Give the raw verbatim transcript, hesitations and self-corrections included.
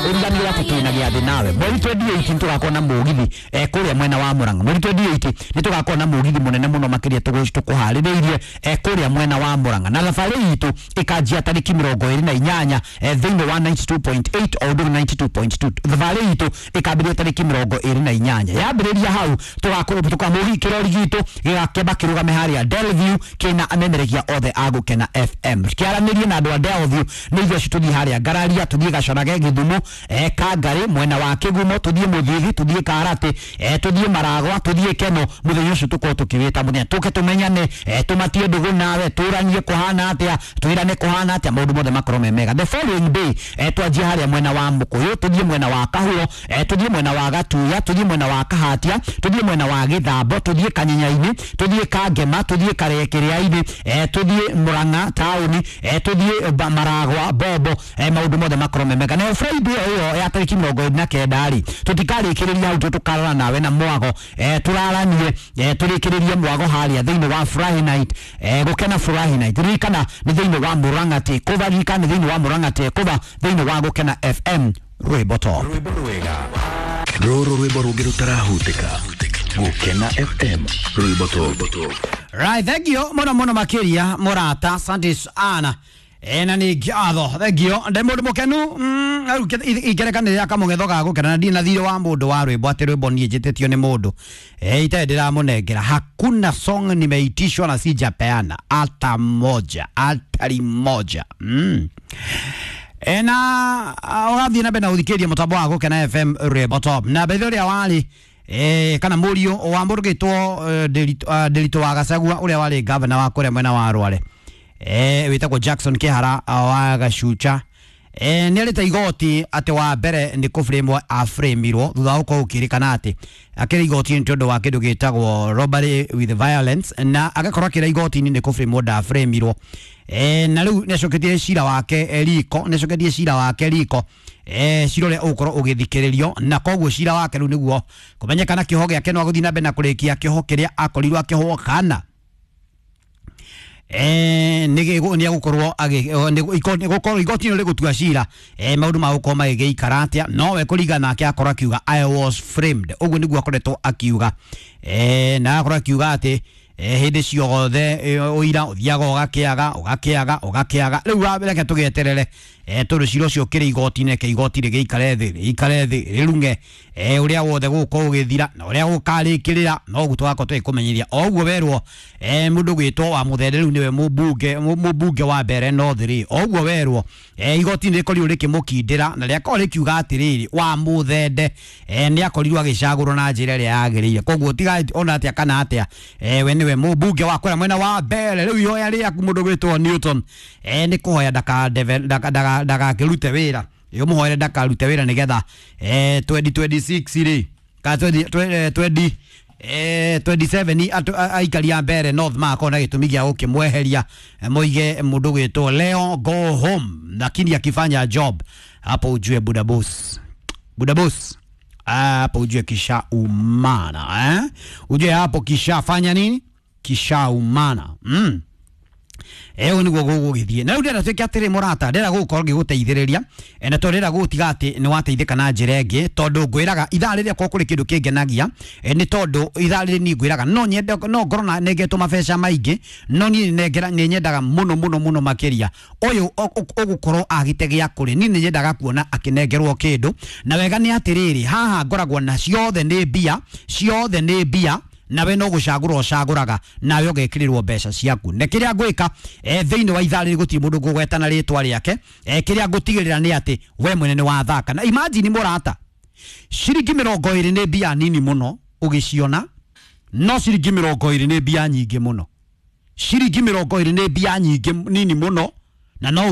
Ũriganĩrwo atĩ twĩna gĩathĩ nawe mweri mĩrongo ĩĩrĩ na nyamwe tũgakorwo na mũgithi eh, kũrĩa mwena wa Murang'a. Mweri mĩrongo ĩĩrĩ na nyamwe nĩ tũgakorwo na mũgithi mũnene mũno makĩria tũkũharĩrĩirie eh, kũrĩa mwena wa Murang'a, na thabarĩ itũ ĩkanjia tarĩki mĩrongo ĩĩrĩ na inyanya eh, thĩinĩ wa ninety-two point eight o ũndũ ninety-two point two. Thabarĩ itũ ĩkambĩrĩria tarĩki mĩrongo ĩĩrĩ na inyanya. Yambĩrĩria hau tũgakorwo tũkamũgi kĩrori gitũ gĩgakĩamba kĩrũgame harĩa Delview kĩna amemerekia othe a Gũkena F M, kĩaranĩrie na andũ a Delview. Nĩ ithuĩ acio tũthiĩ harĩa Ngararia, tũthiĩ Gacorage, Gĩthumo, eh, Kangarĩ, mwena wa Kĩgumo, tũthiĩ Mũthithi, tũthiĩ Karatĩ, eh, tũthiĩ Maragwa, tũthiĩ Keno. Mũthenya ũcio tũkorwo tũkĩwĩta mũthenya tũke tũmenyane, eh, tũmatie ndũgũ nawe, tũranie kũhana atĩa, twĩrane kũhana atĩa, maũndũ mothe makorwo me mega. The following day eh, twanjie harĩa mwena wa Mũkũyũ, tũthiĩ mwena wa Kahuro, eh, tũthiĩ mwena wa Gatuya, tũthiĩ mwena wa Kahatia, tũthiĩ mwena wa Gĩthambo, tũthiĩ Kanyenyainĩ, tũthiĩ Kangema, tũthiĩ Karekĩrĩa-inĩ, eh, tũthiĩ Murang'a taũni, eh, tũthiĩ Ba- Maragwa Bobo, eh, maũndũ mothe makorwo me mega. Nayo Friday ĩyo ya tarĩki mĩrongo ĩrĩ na kenda rĩ, tũtikarĩkĩrĩria hau, tũkarora nawe na mwago, eh, tũraranie, eh, tũrĩkĩrĩrie mwago harĩa thĩinĩ wa Furahi Night, eh, Gũkena Furahi Night. Ririkana nĩ thĩinĩ wa Murang'a Takeover, ririkana nĩ thĩinĩ wa Murang'a Takeover, thĩinĩ wa Gũkena F M rwĩmbo top. Rwĩmbo rwega rũrũ, rwĩmbo rũngĩ rũtarahutĩka. Gũkena F M rwĩmbo top. Right, thank you mũno mũno makĩria mũrata, asante sana. E, na nĩ ngatho, thengio, ndĩ mũndũ mũkenu. mm, rĩu ingerekanĩrĩra kamũgetho ga gũkena na ndirĩ na thirĩ wa mũndũ wa rwĩmbo, atĩ rwĩmbo niĩ njĩtĩtio nĩ mũndũ e, itarĩ ndĩramũnengera. Hakuna song nimeitishwa na sijapeana hata moja, hatari moja mm. E, na ũrathiĩ na mbere na gũthikĩrĩria mũtambo wa Gũkena F M rwĩmbo top. Na bethe ũrĩa warĩ eh, kana mũriũ wa mũndũ gĩtwo Ndĩritũ wa Gacagua, ũrĩa warĩ gavana wa kũrĩa mwena wa Rware, eh, wĩtagwo Jackson Kĩhara wa Gacucha, eh, nĩ arĩte igoti atĩ wa mbere nĩ kũbũrĩmwo abũrĩmirwo thutha wa gũkorwo gũkĩrĩkana atĩ akĩrĩ igoti-inĩ tondũ wa kĩndũ gĩtagwo robbery with violence, na agakorwo akĩra igoti-inĩ nĩ kũbũrĩmwo ndabũrĩmirwo. Eh, na rĩu nĩ acoketie cira wake eh, riko, nĩ acoketie cira wake riko, eh, cira ũrĩa ũgũkorwo ũgĩthikĩrĩrio, na koguo cira wake rĩu nĩguo kũmenyekana kĩoho gĩake no agũthiĩ na mbere na kũrĩkia kĩoho kĩrĩa akorirwo akĩohwo kana eh nĩ nĩ agũkorwo agĩ igoti nĩ rĩgũtua cira, eh maũndũ ma gũkorwo magĩgĩikara atĩa. Nowe kũringana nake akorwo akiuga "I was framed", ũguo nĩguo akoretwo akiuga, eh na akorwo akiuga atĩ eh, hĩndĩ ciothe ũira ũthiaga ũgakĩaga ũgakĩaga ũgakĩaga. Rĩu reke tũgĩeterere, eh, tondũ cira ũcio ũkĩrĩ igoti-inĩ, reke igoti rĩgĩikare thĩ, rĩikare thĩ rĩrung'e eh, ũrĩa wothe gũgũkorwo ũgĩthira na ũrĩa gũkarĩkĩrĩra, no ũguo tũgakorwo tũgĩkũmenyithia o ũguo werwo. eh, mũndũ gwĩtwo wa Mũthende rĩu nĩwe mũmbunge mũmbunge wa Mbere North rĩ, o ũguo werwo, eh, igoti nĩ rĩkorirwo rĩkĩmũkindĩra na rĩakorwo rĩkiuga atĩrĩrĩ, wa Mũthende eh, nĩ akorirwo agĩcagũrwo na njĩra ĩrĩa yagĩrĩire. Koguo tiga ona atĩa kana atĩa, eh, we nĩwe mũmbunge wa kũrĩa mwena wa Mbere. Rĩu ihoya rĩaku, mũndũ gwĩtwo Newton, eh, nĩ kũhoya ndagakĩrute wĩra, ũmũhoere ndakarute wĩra nĩgetha eh, twenty twenty-six rĩ, ka twenty eh, twenty-seven aikari a Mbere North magakorwo na gĩtũmi gĩa gũkĩmweheria, moige mũndũ gwĩtwo Leo go home. Lakini akifanya job hapo ujue buda boss, buda boss hapo ujue kisha umana, eh? Ujue hapo kishafanya nini, kisha umana mm. Ĩyo nĩguo gũgũgĩthiĩ. Na rĩu ndĩrenda tuĩke atĩrĩ mũrata, ndĩrenda gũgũkorwo ngĩgũteithĩrĩria, na to ndĩrenda gũgũtiga atĩ nĩ wateithĩka na njĩra ĩngĩ, tondũ ngwĩraga ithaa rĩrĩa korwo kũrĩ kĩndũ kĩngenagia, nĩ tondũ ithaa rĩrĩ niĩ ngwĩraga no nyende no ngorwo na nengetwo mabeca maingĩ, no niĩ nengera nĩ nyendaga mũno mũno mũno makĩria ũyũ ũgũkorwo agĩte gĩa kũrĩa. Niĩ nĩ nyendaga kuona akĩnengerwo kĩndũ. Na wega nĩ atĩrĩrĩ, haha ngoragwo na ciothe nĩ mbia, ciothe nĩ mbia, nawe no gucagura ucaguraga nawe ũgekĩrĩrwo mbeca ciaku. Na kĩrĩa ngwĩka e, thĩinĩ wa ithaa rĩrĩ, gũtirĩ mũndũ ngũgweta na rĩtwa rĩake, e, kĩrĩa ngũtigĩrĩra nĩ atĩ we mwene nĩ wathaka. Na imagine mũrata, ciringi mĩrongo ĩrĩ nĩ mbia nini mũno ũgĩciona, no ciringi mĩrongo ĩrĩ nĩ mbia nyingĩ mũno. Ciringi mĩrongo ĩrĩ nĩ mbia nyingĩ nini mũno na no